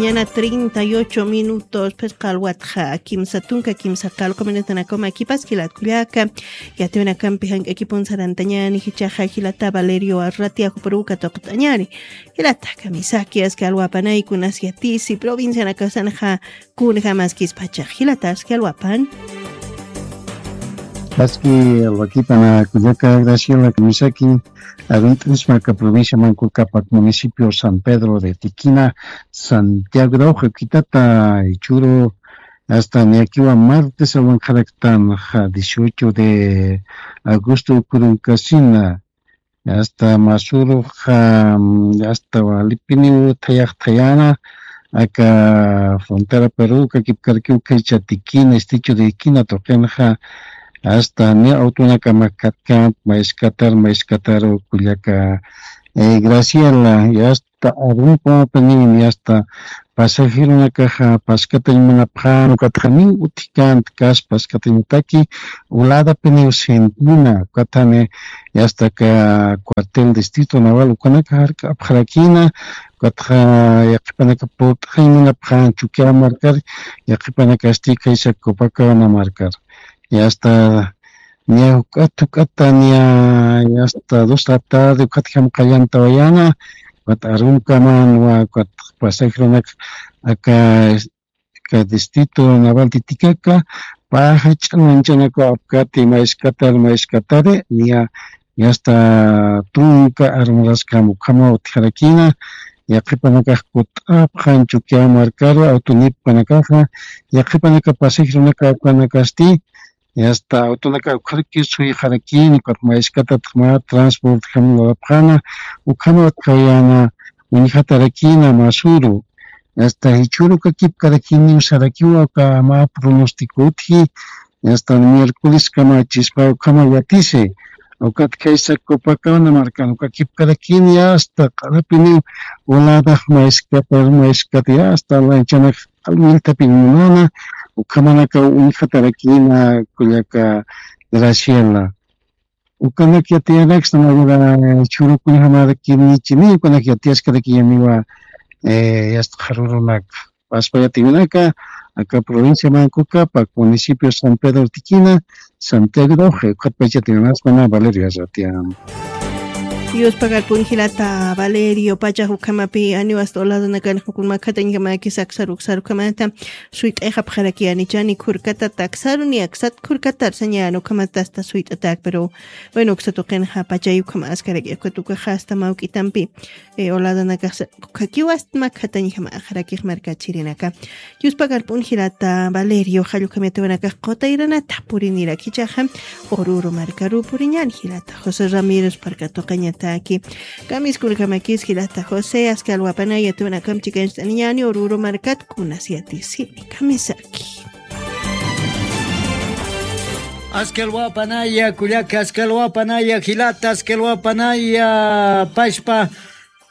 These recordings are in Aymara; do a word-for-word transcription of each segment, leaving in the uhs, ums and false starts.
Mañana treinta y ocho minutos, pues, qalwatxa kimsa tunka kimsa qalqu minutanakuma kipas jilat kullaka. Yatiwinakampi jank'akipun sarantañani jichaxa jilata Valerio Arratia juparuka tuqt'añari. Jilata kamisaki aski alwapanay kunas yatisi provincianakasanxa kunjamaskispachax jilata aski alwapan. Aski alwakipana kullaka Graciela kamisaki. Arint'isma aka provincia Manco Cápac, municipio San Pedro de Tiquina, Santiago de Ojo, kitata ichuru hasta niakiwa martes awanqaraktan, ja, dieciocho de agosto ukurun kasina, hasta masuru, ja, hasta walipiniw thayax thayana, aka frontera Perú, kakipkarkiw kaycha Tiquina, estrecho de Tiquina tuqinxa, hasta ni autonakama katkamp, mayskatar, mayskataru kullaka, eh, Graciela, y hasta arunpamapiniw, y hasta pasajeronakaxa paskatañ munapxan, ukatxa niw utjkant kas paskatañataki, uladapiniw sentina, ukatxani, y hasta ka cuartel distrito naval, ukanaka jark'apxarakina, ukatxa yaqhipanaka purt'xañ munapxan Chukiyaw markar, yaqhipanakasti kaysa Copacabana markar. Y hasta niya juk'at juk'ata niya, y hasta dos de la tarde ukatjam qallantawayana, ukat arunkaman wa ukat pasajeronak aka, aka distrito naval Titicaca, paja ch'anan chanaka apkati mayskatar mayskatari, niya, y hasta tunka armuraskam ukhama utjarakina, yaqhipanakax kut'apxan Chukiyaw markaru, autonipkanakaxa, yaqhipanaka pasajeronaka ukanakasti, y hasta autonaka ukharaki suyxarakini, ukat mayskatatxma transportjam lurapxana, ukhama utjayana, uñjatarakina masuru. Hasta jichhüru kakipkarakini usarakiwa uka mä pronóstico utji, hasta miércoles kama chispa ukhama yatisi. Ukat kaysa Copacabana markan uka kipkarakini, hasta q'arapini uladax mayskapar mayskati, hasta lanchanak alwiltapin munana, ukhamanaka uñjatarakina kullaka Graciela. Ukanak yatiyanaksna mayura chhurukuñjamarakinichini, ukanak yatiyaskarakiyaniwa, eh, yastxarurunak. Paspa yatiwinaka, aka provincia Manco Cápac, municipio San Pedro Tiquina, Santiago de Oje, ukatpach yatiwinasmana Valerio Arratia. Dios pagarpun jilata Valerio, pachax ukhamapi aniwasta uladanakan jukun makhatañjamakis aksar uksar ukhamata suyt'ayxapxaraki anichani khurkatata aksaru ni aksat khurkatar sañan ukhamata asta suyt'atak, pero bueno, uksa tuqinxa pachay ukhama askarak ukat ukaxa asta mawk'itampi, eh, uladanakax ukhakiw asta makhatañjamakxarakix markachirinaka. Yuspagarp'un jilata Valerio, jallukhamita wanakax qutayranata purinirak jichaxa, Oruro markaru puriñan jilata José Ramírez parkatuqañataki. Kamiskunakamakis jilata José, aski alwapanaya tunakamp chikañcht'aniñani Oruro markat kunas yatisini. Kamisaki. Aski alwapanaya, kullaka, aski alwapanaya, jilata, aski alwapanaya, pashpa,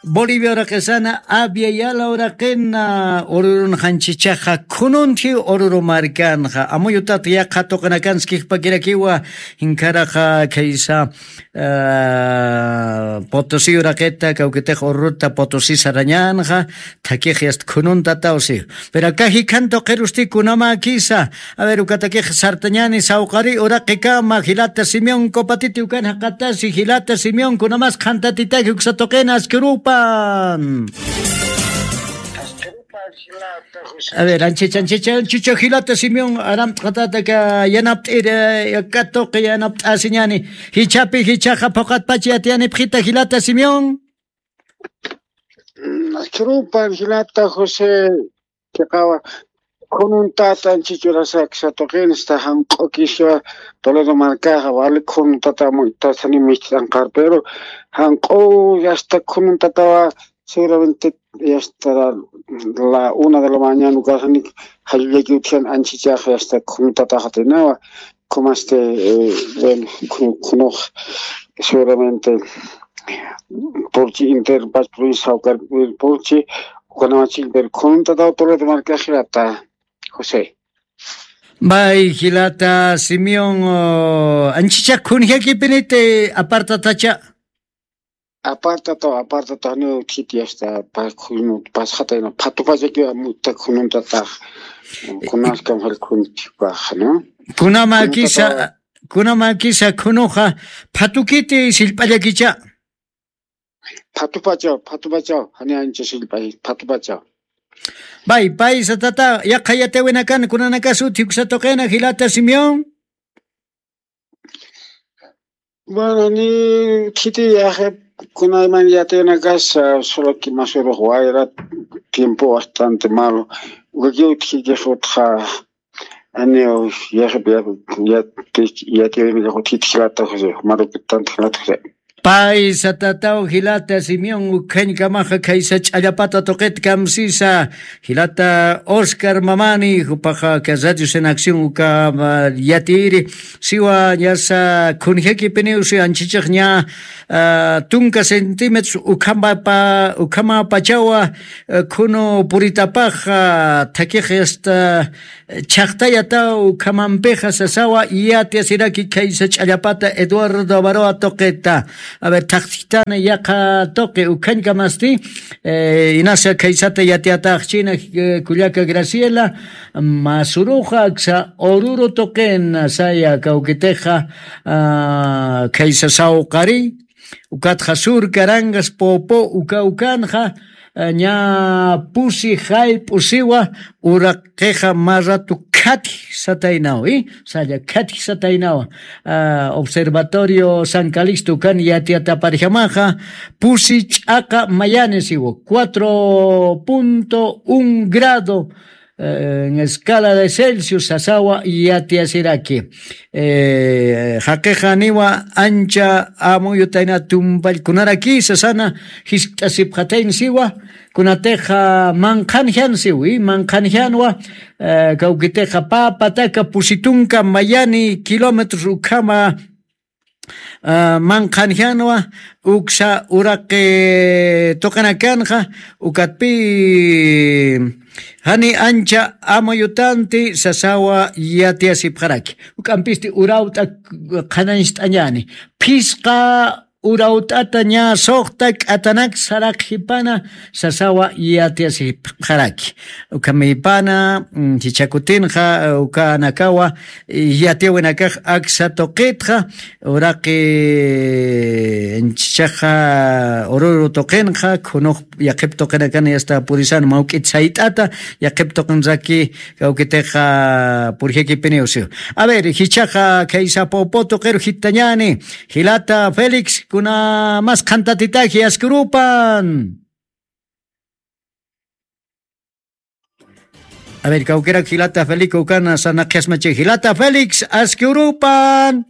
Bolivia uraqisana, Abya Yala uraqina, Orurun janchichaxa, khununthi Oruru markanxa, amuyutat yaqha tuqinakanskixpakirakiwa, jinkharaxa khaysa, ah, Potosí uraqita, kawkitix Oruruta Potosí sarañanxa, thakix yast khununtatawsi. Pero aka jikhan tuqirusti kunamakisa, A ver, ukatakix sartañani sawqari uraqikama, jilata Simeón Copatiti ukan jaqatasi, jilata Simeón, kunamas qhantatitaki uksa tuqina askirupan. A ver, anchicha, anchicha, anchicha, jilata Simeón, aramt'qatata ka yanapt'iri, ka tuqi yanapt'asiñani. Jichhapi, jichhaxa phuqatpacha yatiyanipxita, jilata Simeón. Mm, askirupan, jilata José, chiqawa, khununtat anchich urasaksa tuqinsta janq'u kiswa Toledo markaxa, wali khununtatamu tasani micht'anqar, pero janq'u yasta khununtatawa, seguramente yasta la una de la mañana ukasani jallullaki utjian anchichaxa yasta khunutataxatinawa, como este, eh, bueno, khu-, khunux seguramente Purchi inter pas provincia Saucar, Purchi, Juanamachil, pero khununtatawtulata marka jilata José. Bay, jilata Simeón, oh, anchicha khunjakipiniti apartatacha. Apartataw, apartataw, janiw utjiti asta, pa-, khunu-, pasxatayna, phatupachakiwa, muta khununtatax, kunaskam jal khuntipaxa, ¿no? Kunamakisa, kunamakisa, khunuxa, phatukiti sillp'allakicha. Phatupachaw, phatupachaw, jani ancha sillp'ay, phatupachaw. Pay, pay, satata, yaqha yatiwinakan, kunanakas utji uksa tuqina, jilata Simeón. Bueno, ni khiti yaxe, kunayman yatiwinakas, ah, solo que más o menos wayra tiempo bastante malo. Ukakiw utjikix utja, ani, yaxe, ya, ya, yatiwinikax utjiti jilata José, marukitanti jilata José. Pay satataw jilata Simeón ukhañkamaxa khaysa ch'allapata tuqit kamsisa, jilata Oscar Mamani, jupaxa ka Radios en Acción uka, ah, yatiri, siwa ñasa khunjakipiniw si anchichix ña, ah, tunka centímetros ukhamapa-, ukhamapachawa, ah, khunu puritapaxa, ah, thakix asta, chhaqtayataw ukhamampixa sasawa yatiyasiraki khaysa ch'allapata Eduardo Avaroa tuqita. A ver, thaqtitana yaqha tuqi ukhañkamasti, eh, inasa khaysata yatiyataxchina, eh, kullaka Graciela, masuruxa aksa ururu tuqina saya kawkitixa, ah, khaysa sawqari, ukatxa sur, Carangas, Poopó, uka ukanxa, eh, ña pusi jayp'u siwa, uraqixa mä ratu khatji sataynaw, ¿i? Saya khatji sataynaw. Ah, Observatorio San Calixto ukan yatiyataparjamaxa, pusi ch'aqa mayani siwa, cuatro punto un grado, eh, en escala de Celsius sasawa yatiyasiraki. Eh, jaqixa niwa ancha amuyutayna tumpallkunaraki sasana jiskt'asipxatayna siwa, kunatixa manqhanjan siwi, manqhanjanwa, eh, kawkitixa pä pataka pusi tunka mayani kilómetros ukhama, ah, manqhanjanwa, uksa uraqi tuqinakanxa, ukatpï jani ancha amuyutanti sasawa yatiyasipxaraki. Juk'ampisti urawt'a qhanañcht'añäni. Phisqa urawt'ata ña suxta k'atanak saraqjipana sasawa yatiyasipxaraki. Ukhamipana, mm, jichhakutinxa, eh, ukanakawa, eh, yatiyawinakax aksa tuqitxa, uraqi, eh, anchichaxa ururu tuqinxa, khunux yaqhip tuqinakan yasta purisan mawk'it sayt'ata, yaqhip tuqinraki kawkitixa purjakipiniw siw. A ver, jichhaxa khaysa Poopó tuqiru jitañäni, jilata Félix, kunamas qhantatitaki aski urupan. A ver, kawkirak jilata Félix ukan sarnaqjasmachi. Jilata Félix, aski urupan.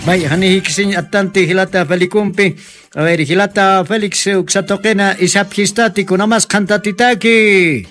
May, jani jikisiñ attanti jilata Félixumpi. A ver, jilata Félix, uksa tuqina isapjistati, kunamas qhantatitaki.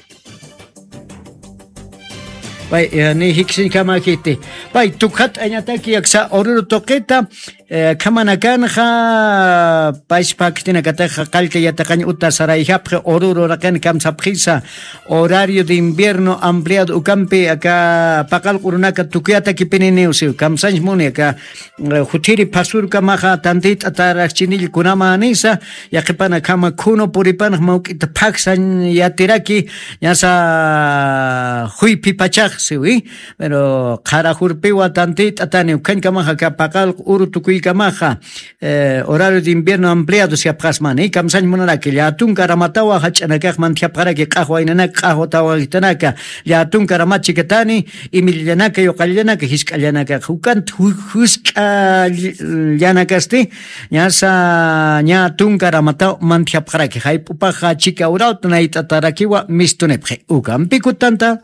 Pay, eh, ni jikisiñkama jiti. Pay, tukxat'añataki aksa ururu tuqita, eh, khamanakanxa, payspaktinakataxa qallta yatiqañ uta sarayjapxi ururu uraqin kamsapxisa, horario de invierno ampliado ukampi aka paqallq urunaka tukuyatakipininiw siw, kamsañs muni aka, eh, juthiri phasurkamaxa tantit'atarakchinill kunamänisa, yaqhipanakhama khunu puripanax mawk'ita phaksañ yatiraki, ñasa juyphipachax siwi, pero qhara jurpiwa tantit'atani, ukhañkamaxa aka paqallq uru tukuykamaxa, eh, horario de invierno ampliado siyapxasmani, kamsañ munaraki, llatunka aramatawa jach'anakax mantjapxaraki, q'axwa inanaka, q'axwa tawajitanaka, llatunka aramat chikatani, imillanaka, yuqallanaka, jisk'allanaka, juk'ant ju-, jusk'allanakasti, ñasa, ña tunka aramataw mantjapxaraki, jayp'upaxa chika urawt nayt'atarakiwa mistunipxi, ukampi kutanta.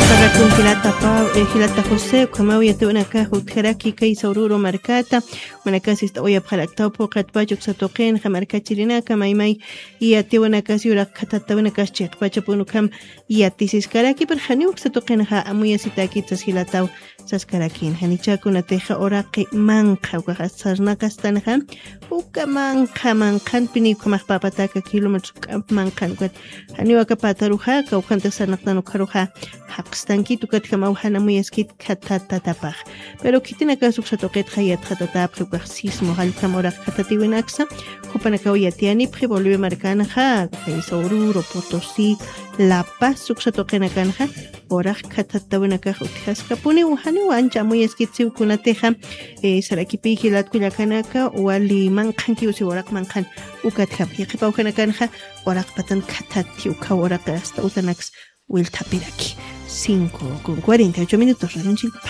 Pagakun jilata Pab-, eh, jilata José, ukhamaw yatiwanakax utjaraki kaysa ururu markata, manakasis t'awayapxaraktaw phuqatpach uksa tuqinxa markachirinaka maymay yatiwanakas yurak khatatawinakas chiqpachapun ukham yatisiskaraki, pero janiw uksa tuqinxa amuyasitäkit sas jilataw saskarakïn. Janicha kunatixa uraqi manqha ukaxa sarnaqastanxa, uka manqha manqhanpiniw ukhamax pä pataka kilómetros k'amp manqhan ukat. Janiw aka pataruxa, kawkhantix sarnaqtan ukharuxa, jaqstankit, ukatjamaw jana muyaskit khathatatapax. Pero khitinakas uksa tuqitxa yatxatatapxi ukax sismo jalltam uraq khathatiwinaksa, jupanakaw yatiyanipxi Bolivia markanxa, kaysa Oruro, Potosí, La Paz uksa tuqinakanxa, uraq khathatawinakax utjaskapuniw, janiw ancha amuyaskitsiw kunatixa, eh, sarakipï jilat kullakanaka, wali manqhankiw si uraq manqhan, ukatjam, yaqhipa ujanakanxa, uraq patan khathati, ukhaw uraq asta utanaks, Wilthapiraki. Cinco con cuarenta y ocho minutos, radionchikpa.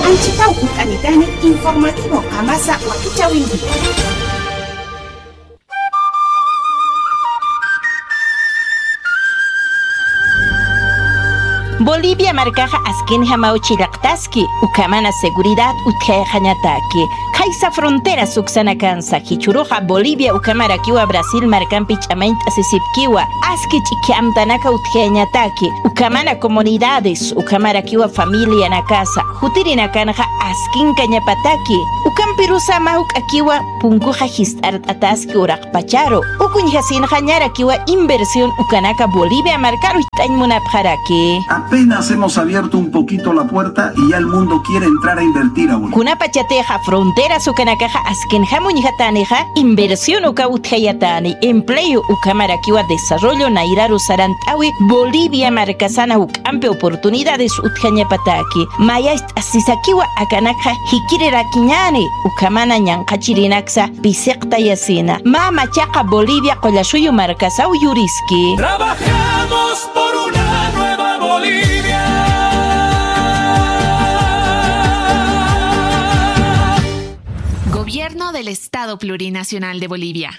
Anchitaw kut'anitani informativo Qamasa wakichawinki. Bolivia markaxa askinjamaw chillaqtaski, ukhamana seguridad utjayxañataki. Khaysa fronteras uksanakansa, jichhüruxa Bolivia ukhamarakiwa Brasil markampi ch'amañt'asisipkiwa, aski ch'ikhi amtanaka utjayañataki, ukhamana comunidades, ukhamarakiwa familianakasa, jutirinakanxa askinkañapataki, ukampirusa mä juk'akiwa punkuxa jist'art'ataski uraqpacharu, uka uñjasinxa ñarakiwa inversión ukanaka Bolivia markaru jit'añ munapxaraki. Apenas hemos abierto un poquito la puerta y ya el mundo quiere entrar a invertir a Bolivia. Kunapachatixa fronteras ukanakaxa askinjam uñjatänixa, inversión uka utjayatani, empleo ukhamarakiwa desarrollo nayraru sarant'awi Bolivia markasana juk'ampi oportunidades utjañapataki. Mayacht'asisakiwa akanakxa jikirirakiñäni, ukhamana ñanqhachirinaksa pisiqtayasina. Mä machaqa Bolivia qullasuyu markasaw yuriski. Trabajamos por una nueva Bolivia. Gobierno del Estado Plurinacional de Bolivia.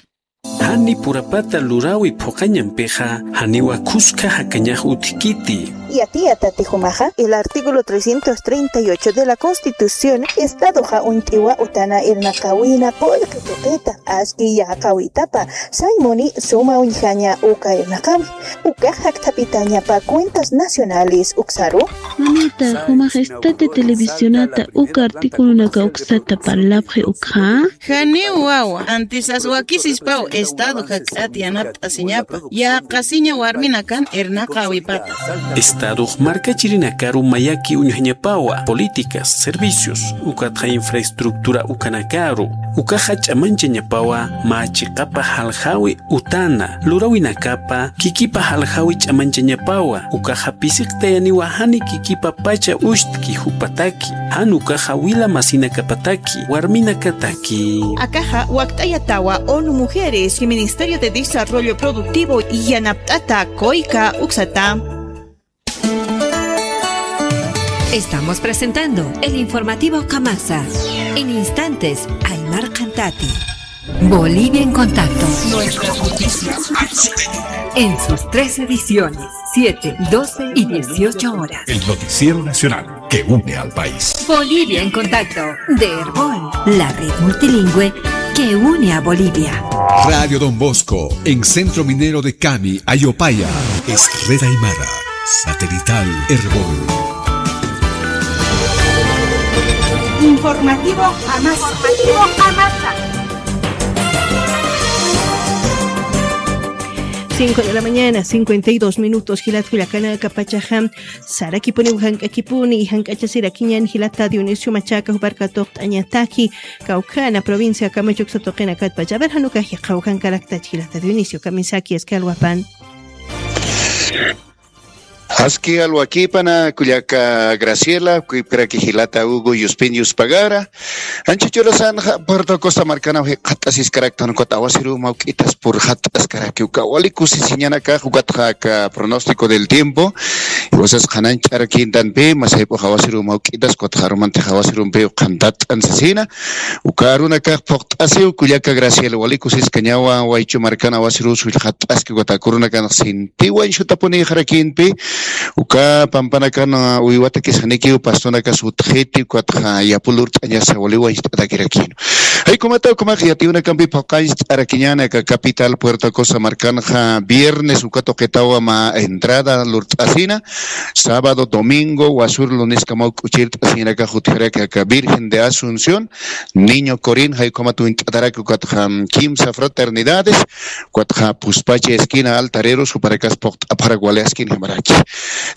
Jani purapata luräwi phuqañampixa, janiwa khuska jakañax utjkiti. Yatiyatati jumaxa, el artículo trescientos treinta y ocho de la Constitución, Estadoxa uñt'iwa utana irnaqawina qullqi tuqita, aski yäqawitapa, saymuni suma uñjaña uka irnaqawi, ukax jakthapitañapa cuentas nacionales uksaru. Mamita, jumax estate televisionata uka articulonaka uksata parlapxi ukxa. Janiw wawa, antisas wakisispaw Estado jakk'at yanapt'asiñapa, yäqasiña warminakan irnaqäwipata. Estadox markachirinakaru mayaki uñjañapawa, políticas, servicios, ukatxa infraestructura ukanakaru, ukaxa ch'amanchañapawa mä chiqapa jaljäwi utana, luräwinakapa kikipa jaljäwi ch'amanchañapawa, ukaxa pisiqtayaniwa jani kikipapacha ucht'ki jupataki, jan ukaxa wila masinakapataki, warminakataki. Akaxa wakt'ayatawa ONU Mujeres y Ministerio de Desarrollo Productivo yanapt'ata COICA uksata. Estamos presentando el informativo Qamasa. En instantes, Aymar Qantati. Bolivia en Contacto. Nuestras noticias. En sus tres ediciones, siete, doce y dieciocho horas. El noticiero nacional que une al país. Bolivia en Contacto, de Erbol, la red multilingüe que une a Bolivia. Radio Don Bosco, en Centro Minero de Cami, Ayopaya. Es red aymara, satelital Erbol. Informativo Amasa. Informativo Amasa. Cinco de la mañana, cincuenta y dos minutos, jilat kullakanaka, pachaxa sarakipuniw jank'akipuni, jank'achasirakiñän jilata Dionisio Machaca, jupar katuqt'añataki, Caucana, provincia Camacho uksa tuqinakat pacha. A ver, jan ukax yaqha ukankarakta jilata Dionisio, kamisaki, aski alwapan. Aski alwakipana, kullaka Graciela, kuypkaraki jilata Hugo Yuspin Yuspagara. Ancha churasanxa Puerto Costa markanaw jikxatasiskaraktan, ukat awasiruw mawk'itas purxat'askarakiw, uka wali kusisiñanakax, ukatxa aka pronóstico del tiempo. Iwasas qhanañch'arakintanpi, masayp'ux awasiruw mawk'itas, ukatxa arumantix awasirumpiw qhantat'an sasina. Uka arunakax phuqt'asiw, kullaka Graciela, wali kusiskañawa, waychu markan awasiruw sullxat'aski, ukat aka urunakanx sintiwañ sutapunïxarakinpi, Uka pampanakan, ah, uywatakis janikiw pastonakas utjiti, ukatxa yapu lurt'añasa wali wañcht'atakirakïn. Jaykumata ukhamax yatiyunakampi phuqañcht'arakiñäni aka capital Puerto Acosta markanxa viernes uka tuqitaw mä entrada lurt'asina, sábado, domingo, wasür luniskamaw k'uchirt'asiñanakax utjaraki aka Virgen de Asunción, Niño Corín, jaykumat uñt'ataraki ukatxa kimsa fraternidades, ukatxa Puspacha esquina altareros, jupanakas phuqt'apxarak wali askinjamaraki.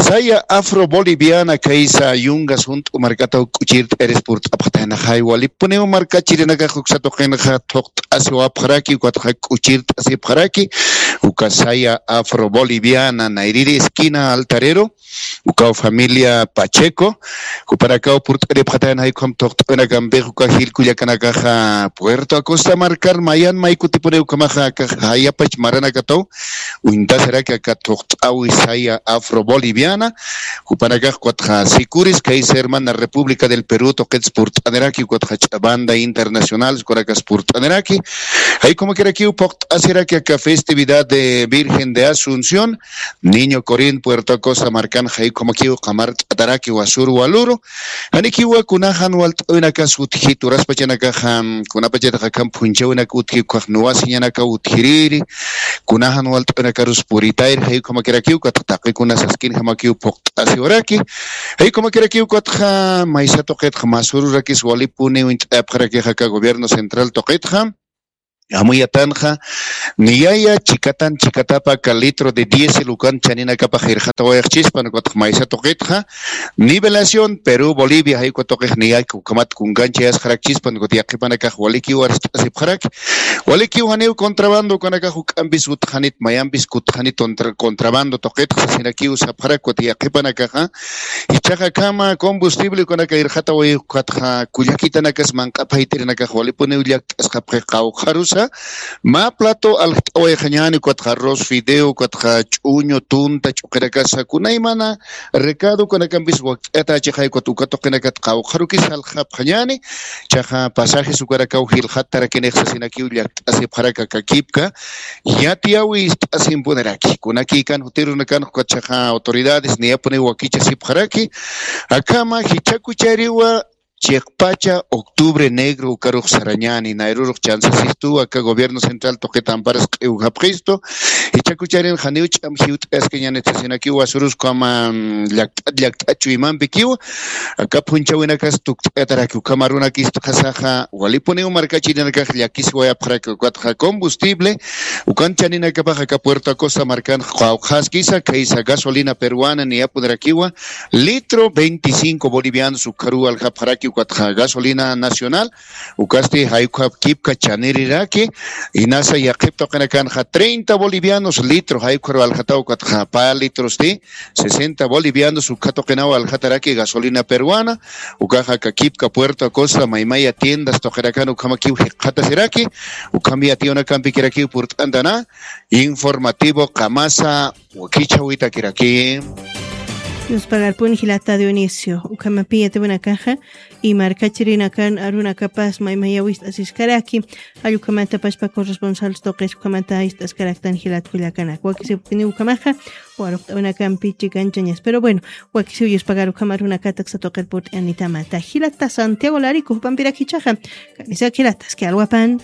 Saya Afro Boliviana kaysa yungas junt'u markataw k'uchirt'ayaris purt'apxataynaxay, walipuniw markachirinakax uksa tuqinxa thuqt'asiwapxaraki, ukatxa k'uchirt'asipxaraki, uka Saya Afro Boliviana, nayrïri esquina altarero, ukaw familia Pacheco, jupanakaw purt'aripxatayna jaykham thuqt'awinakampix uka jil kullakanakaxa Puerto Acosta markar mayan may kutipuniw ukhamaxa aka jayapach maranakataw uñtasiraki aka thuqt'awi Saya Afro Boliviana, jupanakax ukatxa Sicuris, kaysa hermana República del Perú tuqits purt'aniraki, ukatxa Ch'abanda Internacional, ukanakas purt'aniraki, jaykumakirakiw phuqt'asiraki aka festividad de Virgen de Asunción, Niño Corín, Puerto Acosta markan jaykumakiw qamart'ataraki wasür waluru. Janikiwa kunajan walt'awinakas utjit, uraspachanakaxa, kunapachatix akham phunchhäwinak utji, ukax nuwasiñanakaw utjirïri, kunajan walt'awinakarus puritayri, jaykumakirakiw, ukatxa taqikuna saskinjamakiw phuqt'asiwaraki, jaykumakirakiw, ukatxa maysa tuqitxa mä sururakis walipuniw uñt'ayapxarakix aka gobierno central tuqitxa. Amuyatanxa, niyaya chikatan chikatapa aka litro de diésel ukan chaninakapax irxatawayxchispan, ukatxa maysa tuqitxa, Nivelación Perú Bolivia, jayku tuqix niyaya ukhamat kunkanchayasxarakchispan, ukat yaqhipanakax walikiw arst'asipxaraki, walikiw janiw contrabando ukanakax juk'ampis utxanit, mayampis kutxanit contra-, contrabando tuqitxa sasinakiw sapxarak, ukat yaqhipanakaxa, jichhaxa akhama combustible ukanaka irxataway ukatxa kullakitanakas manq'a phayt'irinakax walipuniw llakt'asxapxi qawqharusa, mä plato aljt'awayxañäni, ukatxa arroz fideo, ukatxa ch'uñu, tunta, ch'uqirakasa, kunaymana recado ukanakampis wakt'atächixay, ukat uka tuqinakat qawqharukis aljxapxañäni, jichhaxa pasajes ukarakaw jilxattarakinix sasinakiw llakt'asipxarak aka kipka, yatiyäwi ist'asimpuniraki, kunakïkan jutirunakan, ukat jichhaxa autoridades niyapuniw wakichasipxaraki, akhama jichhakuchariwa chiqpacha octubre negro ukarux sarañäni, nayrürux chansasistuw aka gobierno central tuqit amparas q'iwjapxistu, jichhakucharin janiw ch'am jiwt'ayaskiñänit sasinakiw wasürus ukhama, mm, llakt'at llakt'at chuymampikiw, aka phunchhäwinakas tukt'ayataraki, ukham arunakistxasaxa walipuniw markachirinakax llakisiwayapxaraki, ukatxa combustible ukan chaninakapax aka Puerto Acosta markan qawqhaskisa, kaysa gasolina peruana niyapunirakiwa, litro veinticinco bolivianos ukharuw aljapxaraki, ukatxa gasolina nacional, ukasti jaykhap kipka chaniriraki, inasa yaqhip tuqinakanxa treinta bolivianos litro, jaykharuw aljataw, ukatxa pä litrosti sesenta bolivianos ukha tuqinaw aljataraki gasolina peruana, ukaxa aka kipka Puerto Acosta maymaya tiendas tuqinakan ukhamakiw jikxatasiraki, ukham yatiyunakampikirakiw purt'antana, informativo qamasa wakichhäwitakiraki. Yuspagarpun jilata Dionisio, ukhamapi yatiyunakaxa, y markachirinakan arunakapas maymayaw ist'asiskaraki, jall ukhamata pachpa corresponsal tuqis ukhamata ist'askaraktan jilat kullakanak. Wakisipkini ukhamaxa, waruqt'awinakampi chikanchañas. Pero bueno, wakisiw yuspagar ukham arunakata aksa tuqir purt'anitamata. Jilata Santiago Larico, jupampirak jichhaxa. Kanisak jilata, aski alwapan.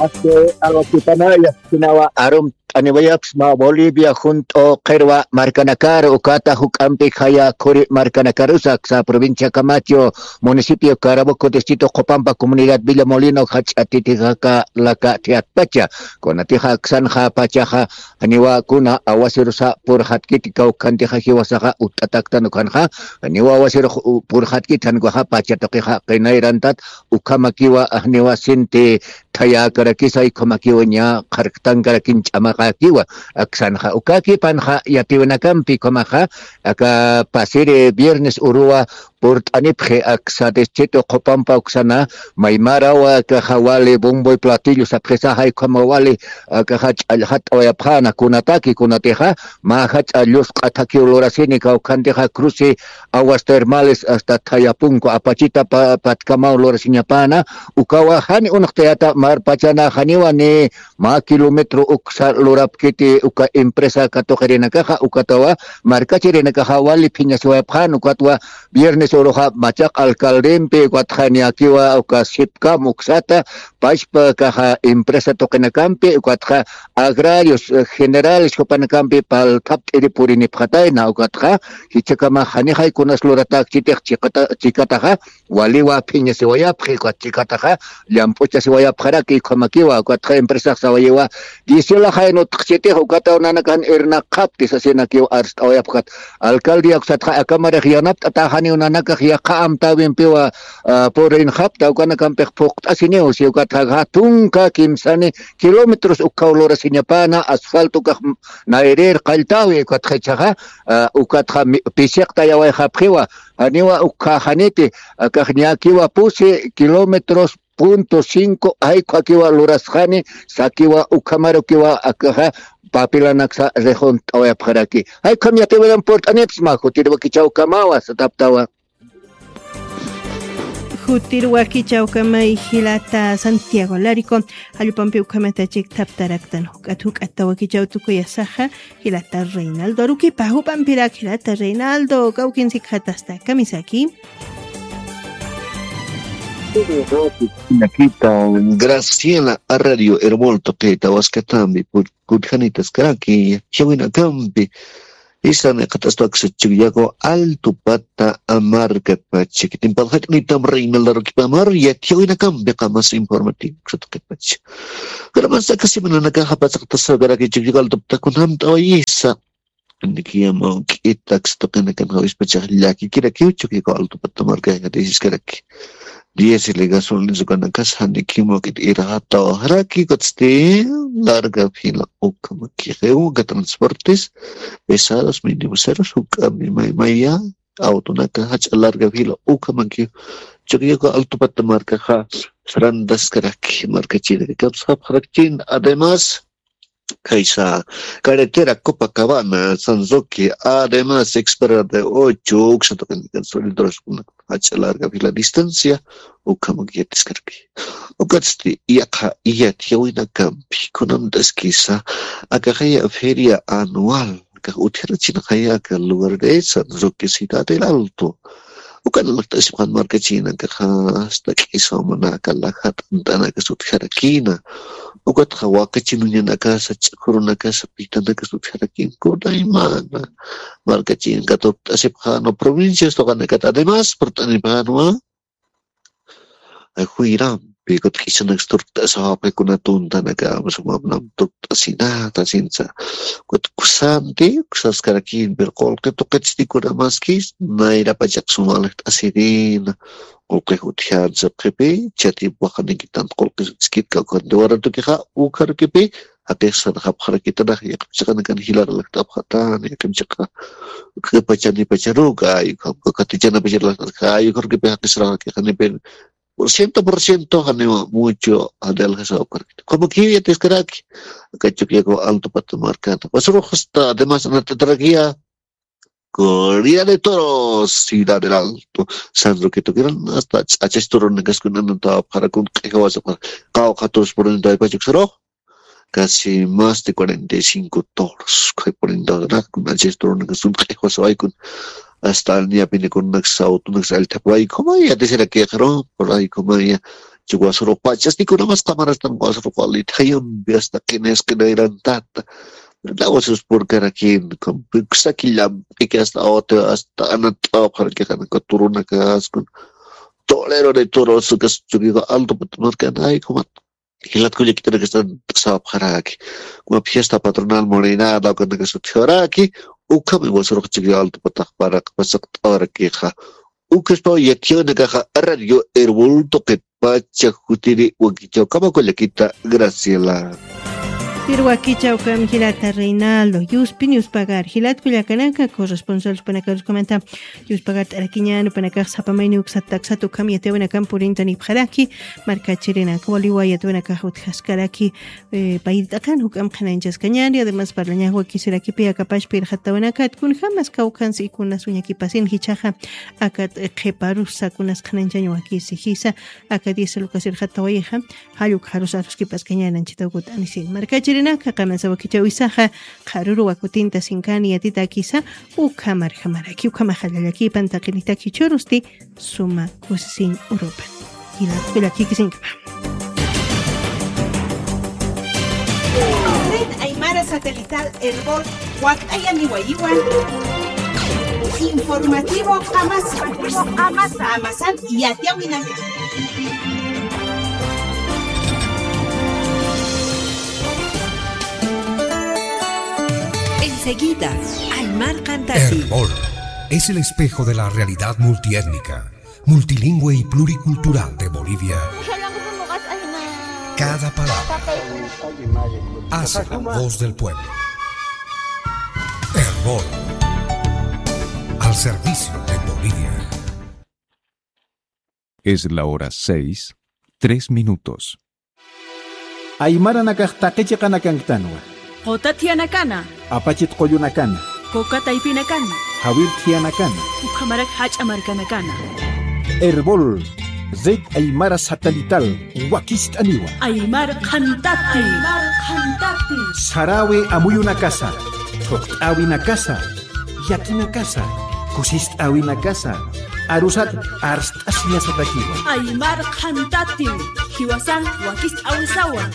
Aski alwakipanaya, jinawa arum t'aniwayapxsma Bolivia junt'u qhirwa markanakar, ukata juk'ampi khaya khuri markanakarusa, aksa provincia Camacho, municipio Caraboco, distrito Copampa, comunidad Villa Molino, jach'a titijaka laka thiyatpacha. Kunatixa aksanxa pachaxa, janiwa kuna awasirusa purxatkiti kawkhantixa jiwasaxa utt'ataktan ukhanxa, janiwa awasirux u-, purxatkiti, jankuxa pacha tuqixa qinayrantat, ukhamakiwa, janiwa sinti thayäkarakisa, ukhamakiwa ña qharktankarakin ch'amaqakiwa, aksanxa ukakipanxa yatiwinakampi ukhamaxa, aka pasiri viernes uruwa purt'anipxi aksa distrito qhupampa uksana, maymarawa akaxa wali bombo y platillo sapxisa, jaykhama wali akaxa ch'allxat'awayapxäna, kunataki kunatixa mä jach'a llusq'a thakiw lurasini, kawkhantixa cruce aguas termales hasta Thayapunku apachita pa- patkamaw lurasiñapäna. Ukawa jani unxtayata marpachana janiwa ni mä kilómetro uksa lurapkiti uka empresa katuqirinakaxa, ukatawa markachirinakaxa wali phiñasiwayapxän, ukatwa viernes uruxa machaq alcaldempi, ukatxa niyakiwa uka sipkam uksata pachpa kaxa empresa tuqinakampi, ukatxa agrarios, eh, generales jupanakampi palthapt'iri purinipxatayna, ukatxa jichhakama janixay kunas luratäkchitix chikata- chikataxa waliwa phiñasiwayapxi, ukat chikataxa llamp'uchasiwayapxaraki, ukhamakiwa ukatxa empresax sawayiwa, diesel jaynutxchitix ukataw nanakan irnaqxapti sasinakiw arst'awayapxat. Alcaldía uksatxa akamarix yanapt'ata janiw nanakax yaqha amtäwimpiwa, ah, purinxapta, ukanakampix phuqt'asiniw si, ukatxa tunka kimsani kilómetros ukkhaw lurasiñapäna, asfalto ukax nayrir qalltäwi, ukatxa jichhaxa, ah, ukatxa mi- pisiqtayawayxapxiwa, janiwa ukkhaxaniti, akax niyakiwa pusi kilómetros punto cinco, jaykhwakiwa lurasxani, sakiwa ukhamarukiwa akaxa papilanaksa rixunt'awayapxaraki. Jaykham yatiwiran purt'anipsma, jutiriwakichawkamawa sataptawa. Jutiriwakichawkamay jilata Santiago Larico, jallpampi ukhamata chikthaptaraktan juk'at juk'at tawakichaw tukuyasaxa, jilata Reinaldo Aruquipa, jupampirak jilata Reinaldo, kawkinsikxatasta kamisaki. Nakita Graciela a Radio Hermol tuqita waskatambi put- kutjanitaskaraki, chawinakampi. Isan iqataspa aksa Chukiyaku Alto Pata markatpacha. Kitimpal jaq'nitam Reinaldo Aruquipamar yatiyawinakampi qamas informativo ksatuqipacha. Karamas aka semananakaxa pasaqtaskaraki Chukiyaku Alto Pata kunjamt'awayisa. Nikiyama uk'ita ksatuqinakan jawispachax llakikirakiw Chukiyaku Alto Pata marka jathisiskaraki. Diésel y gasolina ukanakasa nikiyama uk'ita irxataw jaraki, ukatsti larga fila ukhamakixi uka transportes pesados, minibuseros, juk'ampi maymaya autonaka jach'a larga fila ukhamakix. Chukiyaku Alto Pata markaxa sarant'askaraki, markachirinakapsa japxarakchin. Además, kaysa carretera Copacabana, San Roque, además, Expera de Ocho, uksa tuqinakan solidores jach'a larga fila distancia ukhamak yatiskaraki. Ukatsti yaqha yatiyawinakampi kunamt'askisa akaxaya feria anual, akax utjarachinxaya aka lugar de San Roque, Ciudad del Alto. Ukan alakt'asipxan markachinakaxa, hasta k'isaw manaka lajat'ant'anakas utjarakina. Ukatxa wakachinuñanakasa, ch'akhurunakasa, pitanakas utjarakina. Kunaymana markachinaka turkt'asipxanwa, provincias tuqanakat además purt'anipxanwa. Juyrampi kut'k'isanaks turkt'asawapxi, kuna tuntanaka sumapnam turkt'asinata sinsa. Kutkusanti kusaskarakïn, pero qullqi tuqitsti kunamaskis nayra pachaq suma alakt'asirina. Qullqix utjän sapxipi, chatip waqanikitan qullqis utskit kawkhanti waratukixa ukharukipi jaqix sarxapxarakitanax, yaqhip chiqanakan jilar alakt'apxatani, yaqhip chiqa q'ipachanipacharuka ay ukham kawkhanti chanapachar alakt'asxa ay ukharukipi jaqis sarxarakixanipin. Por ciento por ciento janiwa mucho adelgazado karkita. Como que ya te escaraki. Aka Chukiyaku Alto Pata markana. Pasarux hasta además anatatarakïya. Corrida de toros, Ciudad del Alto. San Roque tukiran hasta ch'achas turunakas kunan anatawapxarakun, q'ijawasapax. Qawqha toros por ciento ay pachuk sarux. Casi más de cuarenta y cinco toros. Kay por ciento kuna ch'achas turunakas kun q'ijawasawaykun. Hasta alñapinikunaks autonaks allthapawayku, jumaya yatisirakixaru, por ahí jumaya. Chukiyaku wasarux pachasti kunamas qamarastan wasarux wali thayampi hasta qinis qinayrantata. Lawasus purkarakin, kusaki llamp'iki hasta awati, hasta anat'awapxarakixan, turunakas kun. Torero de toros, kas Chukiyaku Alto Pata markana, ay, jumat. Jilat kullakitanakas anat'asawapxaraki. Kuma fiesta patronal morenada, ukanakas utjaraki, ukhami wasarux Chukiyaku Alto Patax paraq pasaqt'awarakixa. Ukhaspaw yatiyawinakaxa Radio Erbol tuqitpacha, jutiri wakichawkama kullakita Graciela. Irwakicha ukham jilata Reinaldo, yuspin yuspagar, jilat kullakanaka, corresponsal supanakaruskamanta, yuspagar t'arakiñan, upanakax sapamayni uksat taksat ukham yatiyawinakan purintan ipxaraki, markachirinaka, waliwa yatiyawinakax utjaskaraki, eh, payt'aqan juk'am qhanañchaskañani, además parlañax wakisirakipi akapachpa irxatawinakat, kunjamas kawkhansi y kunas uñakipasin jichhaxa, akat, eh, qhiparusa kunas qhanañchañ wakisi jisa, aka diez lucas irxatawayixa, jalluk jarus aruskipaskañan anchhita ukut anisin. Markachirinaka, qamasa wakichawisaxa, qharuru wakutinta sinkani yatitakisa, ukhamarjamaraki, ukhamaxa llallakipan taqinitaki churusti, suma kusisiñ urupan. Jilat kullakikisinkama. Red Aymara Satelital Erbol, wakt'ayaniwayiwan. Informativo Qamasa. Qamasa. Qamasan yatiyawinaka. Enseguida, Aymar Cantati. Erbol es el espejo de la realidad multiétnica, multilingüe y pluricultural de Bolivia. Cada palabra hace la voz del pueblo. Erbol, al servicio de Bolivia. Es la hora seis, tres minutos. Aymaranakax taqi chiqanakanktänwa. Quta thiyanakana. Apachit qullunakana. Coca taypinakana. Jawir thiyanakana. Ukhamarak jach'a markanakana. Erbol, Red Aymara Satelital, wakist'aniwa. Aymar Qhantati. Aymar Qhantati. Sarawi amuyunakasa, thuqt'äwinakasa, llakinakasa, kusist'äwinakasa, arusat arst'asiñasatakiwa. Aymar Qhantati, jiwasan wakist'äwisawa.